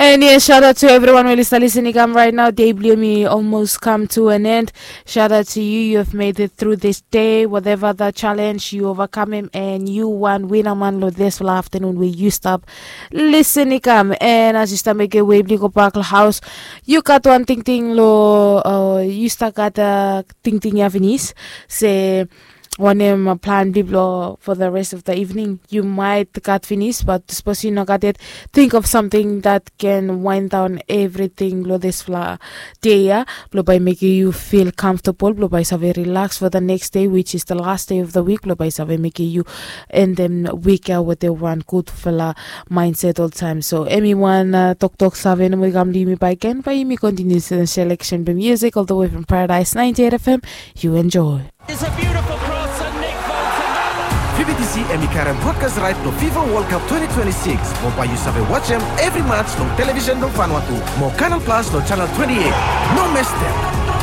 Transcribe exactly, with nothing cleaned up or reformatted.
And yes, shout out to everyone who is listening. I'm right now. Day blue me almost come to an end. Shout out to you. You have made it through this day. Whatever the challenge, you overcome him and you won win a man lo this afternoon where you stop. Listen, Nikam. And as you start make your way, go back to house. You got one thing thing lo uh, you start got a thing thing Japanese. Say wanem plan bli blo for the rest of the evening. You might gat finish, but suppose you no gat it, think of something that can wind down everything blo this fla day ya. Blo by making you feel comfortable, blo by save relax for the next day, which is the last day of the week. Blo by save making you end them week ya with the one good fla mindset all time. So anyone uh, talk talk save no more come me by again, by me continue the selection by music all the way from Paradise ninety-eight F M. You enjoy. It's a beautiful cross and Nick Bolton. Fi bi disi hemi karem broadcast right lo FIFA World Cup twenty twenty-six. Mo bae yu save wajem evri match long television blong Vanuatu mo Canal Plus lo channel twenty-eight. No mes dem.